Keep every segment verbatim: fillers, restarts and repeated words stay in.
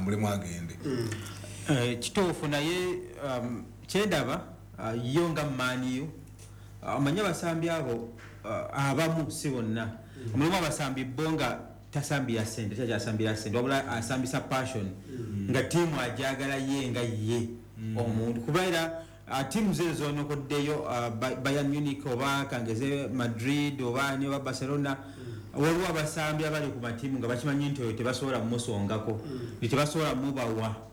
Atambulemu agende. Eh, kituufu, naye um, kyendaba uh, yo nga Man U, omanyi abasambi abo, uh, abamu, si bonna, mulimu abasambi bo nga tasambira sente, takyasambira sente, wabula asambisa passion, nga tiimu ajagala ye nga ye omuntu, kubeera uh, tiimu ze zonokoddeyo, uh, Ba- bayern Munich oba kangeze Madrid oba ani oba Barcelona, waliwo abasambi abali ku matiimu nga bakimanyi nti oyo tebasobola mumusongako, nti tebasobola mubawa.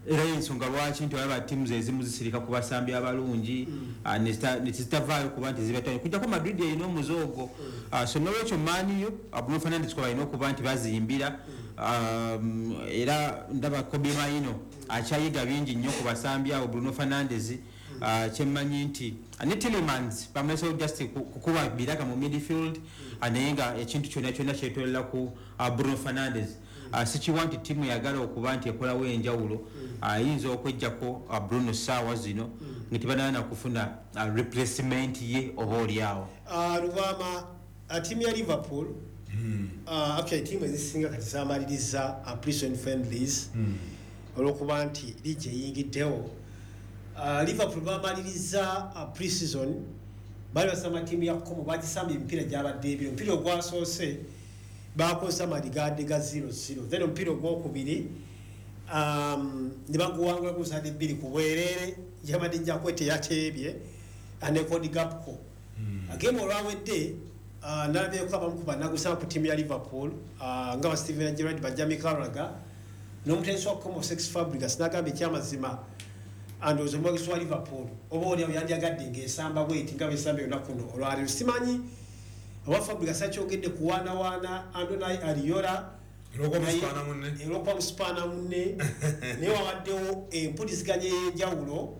Era ensonga lwaki nti olaba tiimu ezimu zisirika ku basambi abalungi, ah, ne zita- ne zitavaayo kuba nti zibatwale, kujjako Madrid erina omuze ogwo. Ah, so nolwekyo Man U, Bruno Fernandes kwe balina okuba nti bazimbira. Um, era ndaba Kobbie Mainoo akyayiga bingi nnyo ku basambi abo. Bruno Fernandes, ah, kyemmanyi nti ne Tielemans bamulesewo just ku- kukuba biraka mu midfield, ah, naye nga ekintu kyonna kyonna kyetolera ku ah, Bruno Fernandes. Ah, sikiwa nti ttiimu yagala okuba nti ekolawo enjawulo ayinza okwejjako ah, Bruno saawa zino nga tebanana kufuna ah, replacement ye oba oliawo. Ah, Lubwama, ah, ttiimu ya Liverpool, ah, actually ttiimu ezisinga kati zamaliriza uh, pre-season friendlies olwokuba nti liigi eyingiddewo. Ah, Liverpool bamaliriza uh, pre-season, bali basamba ttiimu ya Como, bagisamba emipiira gyabadde ebiri. Omupiira ogwasoose bakozesa maligadde ga zero zero, then omupiira ogwokubiri um, ne baguwangula gusadde bbiri ku bwereere, yabadde Jaquet yateebye ne Cody Gakpo. Game olwawedde, uh, nalabyeko abamu ku bannagusaba ku ttiimu ya Liverpool, uh, nga ba Steven Gerrard, ba Jamie Carragher n'omutendesi wa Como, Cesc Fabregas, nagamba ekyamazima andowooza omuwagizi wa Liverpool oba oliawo yandyagadde ng'esamba bweti nga bwesamba olunaku luno olwaleero. Simanyi oba Fabregas akyogedde kuwaanawaana Andoni Iraola. Olw'okuba musipaana munne. Olwokuba musipaana munne, naye wabaddewo empuliziganya ey'enjawulo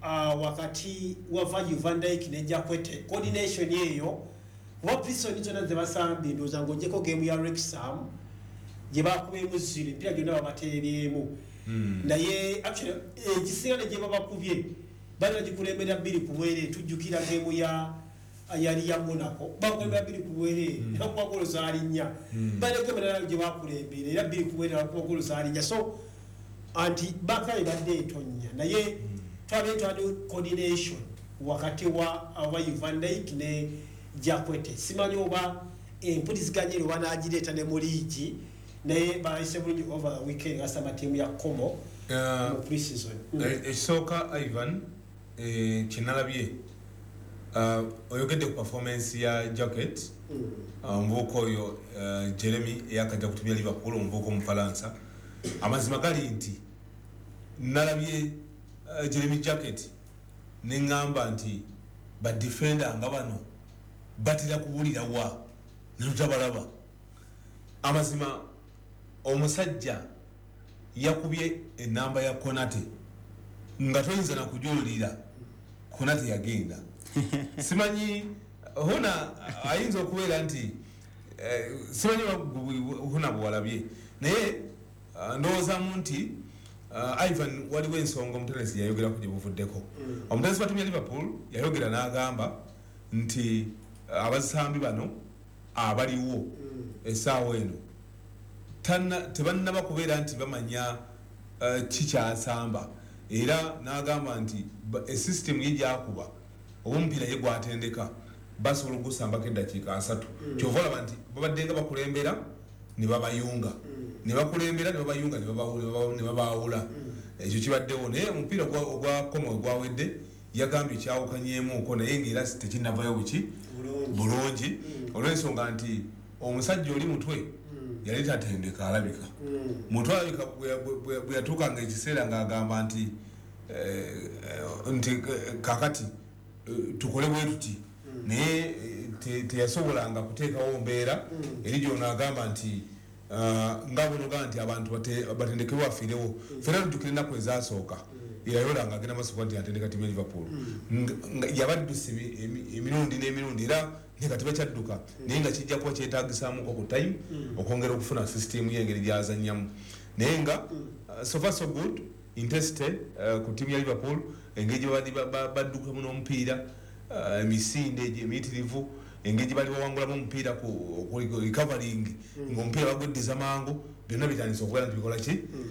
ah, wakati wa Virgil van Dijk ne Jaquet, coordination eyo, kuba pre-season zonna zebasambye, ndowooza ng'ogyeko game ya Wrexham gye bakubyemu zero, emipiira gyonna babateebyemu. Naye actually ekisinga ne gye babakubye bali bagikulembera bbiri ku bwereere. Tujjukira game ya yali ya Monaco, bakulembera bbiri ku bwereere, nebakuba golo zaali nnya. Balina game endala gye bakulembera era bbiri ku bwereere, bakuba golo zaali nnya. So anti baka ebadde etonya, naye twabadde twabadde coordination wakati wa wa Van Dijk ne Jaquet. Simanyi oba empuliziganya ero banagireeta ne mu liigi, naye bayise bulungi over the weekend gasamba ttiimu ya Como Uh, mu pre-season. Mm. Eh, ekisooka Ivan, eh, kyenalabye, uh, oyogedde ku performance ya Jaquet, omuvubuka oyo uh, Jeremy eyakajja ku tiimu ya Liverpool, omuvubuka Omufalansa. Amazima gali nti nalabye uh, Jeremy Jacquet neŋŋamba nti badefender nga bano batera kubulira wa netutabalaba. Amazima omusajja yakubye enamba ya Konate nga toyinza nakujulira Konate yagenda. Simanyi huna ayinza okubeera nti eh, simanyi huna bwalabye, naye eh, ndowoozamu nti uh, Ivan, waliwo ensonga omutendesi yayogerako gye buvuddeko. Omutendesi wa tiimu ya Liverpool yayogera n'agamba nti eh, abasambi bano abaliwo essaawa eno tanna- tebannaba kubeera nti bamanya eh, kikyasamba, era n'agamba nti ba- esystem ye gyakuba oba omupiira ye gwatendeka basobola ogusambako eddakiika asatu. Kyova olaba nti babadde nga bakulembera ne babayunga, ne bakulembera ne babayunga, ne babawu- ne babaawula. Ekyo kibaddewo, naye omupiira ogwa- ogwa Como gwawedde yagambye kyawukanyeemuuko, naye ngaera tekinnavayo buki Bulungi. Bulungi, olw'ensonga nti omusajja oli mutwe yali tatendeka, alabika mutwe, alabika bwe- bwe- bwe yatuukanga ekiseera ng'agamba nti eh, eh, nti eh, kakati eh, tukole bwe tuti, naye eh, te- teyasobolanga kuteekawo mbeera eri gyono. Agamba nti ah, nga bwenogaa nti abantu bate- batendekebwe bafiirewo. Fena tujjukira ennaku ezasooka Iraola nga agenda maaso kuba nti atendeka tiimu ya Liverpool, Nga- nga yabadduse emi- emi- emirundi n'emirundi, era naye kati bakyadduka, naye nga kijja kuba kyetagisaamuko ku time okwongera okufuna system y'engeri gyazannyamu. Naye nga uh, so far so good intensity uh, ku tiimu ya Liverpool, engeri gye babadde ba- ba- baddukamu n'omupiira, uh, emisinde egyo emiyitirivu, engeri gye bali bawangulamu omupiira ku ku recovering ng'omupiira bagweddiza mangu, byonna bitandise okubeera nti bikola ki.